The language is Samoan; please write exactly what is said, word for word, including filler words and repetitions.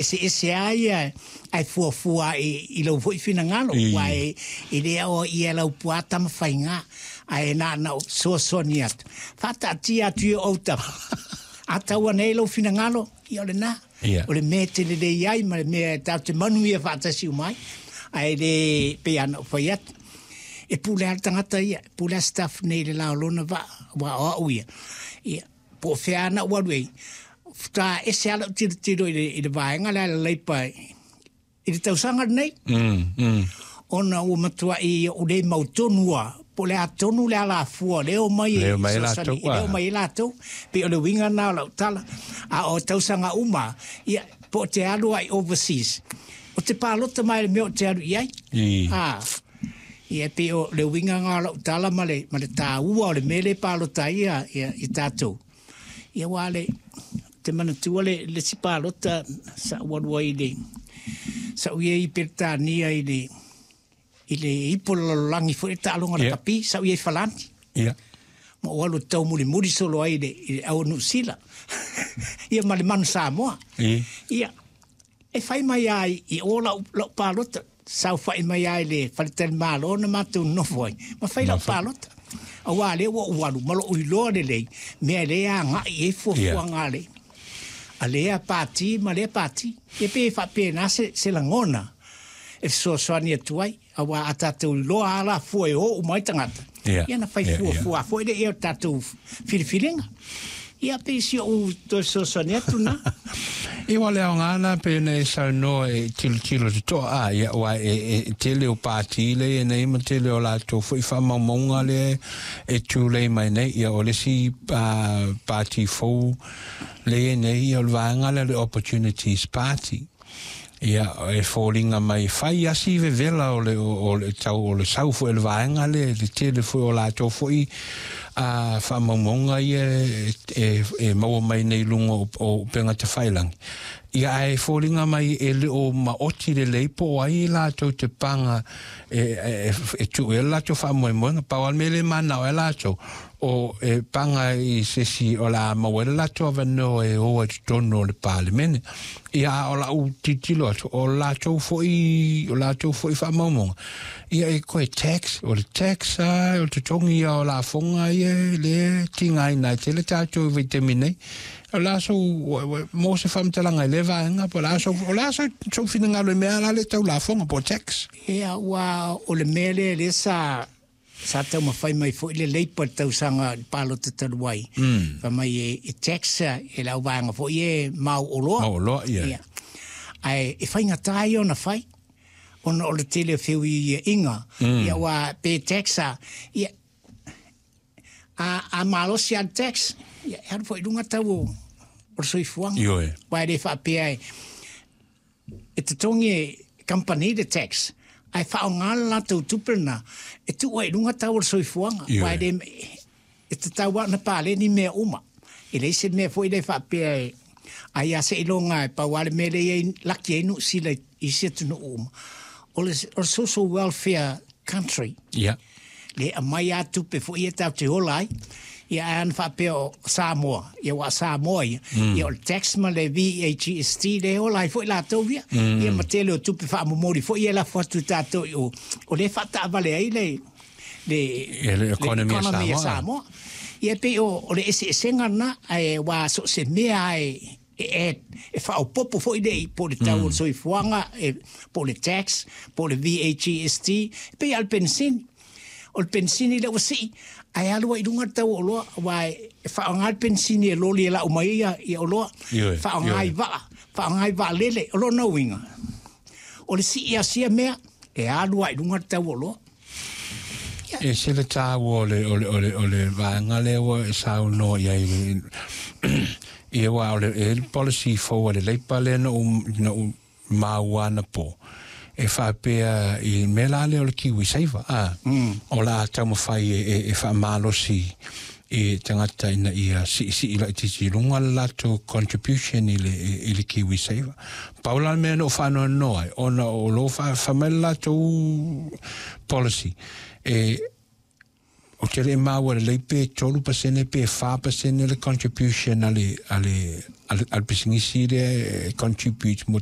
Eseese lava ia ae fuafua i, i lou foi finagalo, aua e, e le ao ia lau puā tamafaiga, ae na ona ou fesoasoani atu, faataatia atu i ou autafa. A tau ane ai lou finagalo, ia o lena. Ia. O le mea e te lelei ai ma le mea e tatou te manuia faatasi uma ai. Ae le pei lava ona ou fai atu, e pule lava le tagata ia, e pule lava Stuff nei i le la o lona vaa, aua o au ia, ia, po o fea lava na ou alu ai, faatoa ese lava lau tilotilo i le, i le vaega lea a le Leipa i le tausaga lenei. Mm, mm. Ona ua matuai ou le mautonu lava po o le a tonu le alafua lea e omai e fesoasoani, e omai ai latou. Pei o le uiga lena o lau tala. A o tausaga uma, ia, po o te alu ai overseas, o te palota mai i le mea o te alu i ai. A, ia, pei o le uiga lena o lau tala ma le, ma le taua o le mea lea e palota ai ia, ia, i tatou. Ia, aua le, te manatua le, le isi palota sa ou alu ai i le, sa ou i ai i Peretania i le, i le ipu o le lalolagi foi le taaloga lakapi, sa ou i ai i Falani. Ia. Ma ou alu e taumulimuli solo ai i le, i le au o Niu Sila. Ia ma le manu Samoa. Ia, e fai mai lava i o lau, lau palota, saofai mai lava i le faletalimalo na matou nonofo ai, ma fai lau palota. Aua lea ua ou alu ma lou iloa lelei, mea lea e agai i ai fuafuaga a le, a lea pati ma lea pati. Ia pei e faapena se, se lagona e fesoasoani atu ai, aua a tatou iloa lava alafua e o uma ai tagata, Ia, ia ona fai ia, ia. fuafua foi lea o tatou filifiliga. Ia pei si ou toe fesoasoani atu na. Ia ua le aoga na pei ona e saunoa e tilotilo totoa a ia aua e, e, e tele o pati lea e nei ma tele o latou foi faamaumauga lea e tulei mai nei. Ia o le isi uh, pati fou lea e nei, ia o le vaega lea o le Opportunities Party. Ia e foliga mai fai asi vevela o le, o, o le tau o le sau foi o le vaega lea, le tele foi o latou foi a faamaumauga ia e, e, e maua mai nei i luga o, o upega tafailagi. Ia ae foliga mai e le o maoti lelei po o ai latou te paga e, e, e tuu ai le latou faamoemoega. Pau lava le mea lea e manao ai latou, o e paga i se isi o le a maua ai le latou avanoa e o ai i totonu o le Palemene. Ia a o lau tilotilo atu, o latou foi, o latou foi faamaumauga, ia e koe tax, o le tax a, o le totogi ia o lafoga ia lea e tigaina ai tele tatou i vaitaimi nei. O le a sou, mo se faamatalaga i lea vaega, po o le a sou, o le a sou, sou finagalo i mea la lea tau lafoga po o tax? Ia, ua o le mea lea lea sa sa taumafai mai foi le Leipa i le tausaga i le palota talu ai. Mm. Fai mai e, e tax e le auvaega foi e mau oloa. Mau oloa, ia. Ia. Ae e faigata ia ona fai, ona o le tele o feuiuiaiga. Mm. Ia ua pe tax a, ia, a, a malosi lava le tax, ia, e alu foi i luga tau o, o le soifuaga. Ioe. Aua e le faapea e, e totogi e kamupani le tax, ae faaaoga le latou tupe lena e tuu ai i luga tau o le soifuaga. Ioe. Aua e le, e tatau lava ona paleni mea uma. E leai se mea foi lea e faapea e ai lava seiloga e pau lava le mea lea e i ai laki ai Niu Sila i isi atunuu uma. O le, o le social welfare country. Ia. Le aumai lava tupe foi ia tatou te ola ai. Ia ae ana faapea o Samoa, ia aua o Samoa ia, ia o le tax ma le V A G S T lea e ola ai foi latou ia. Ia ma tele o tupe faamomoli foi ia e lafo atu i tatou i o, o lea e faataavale ai le, le, Ia, le le economy a economy a Samoa. Samoa. Ia pei o, o le eseesega lena, ae aua so o se mea lava e, e add, e faaopoopo foi le, po o le tau o le soifuaga, e, po o le tax, po o le V A G S T, e pei lava o le penisini. O le penisini lea ua sii, ae alu ai i luga le tau o oloa, aua e faaaoga le penisini e loli e lau mai ai ia, ia oloa, Ioe, faaaoga i ioe. vaa, faaaoga i vaalele, o lona uiga. O le sii a sia mea, e alu ai i luga le tau o oloa. E se le taua o le, o le, o le, o le vaega lea ua e saunoa i ai le, ia aua o le, e le policy fou a le Leipa lea na ou, na ou maua anapo. E faapea i mea la lea o le Kiwi Saver, a, Mm. o la taumafai e, e, e faamalosi i tagata ina ia siisii laitiiti i luga le latou contribution i le, i le Kiwi Saver. Pau la le mea na ou faanoanoa ai, ona o lo fa, fai mai le latou policy. E, O te le maua lelei pe tolu pasene pe fa pasene le contribution a le a le a le pisinisi lea e contribute mo.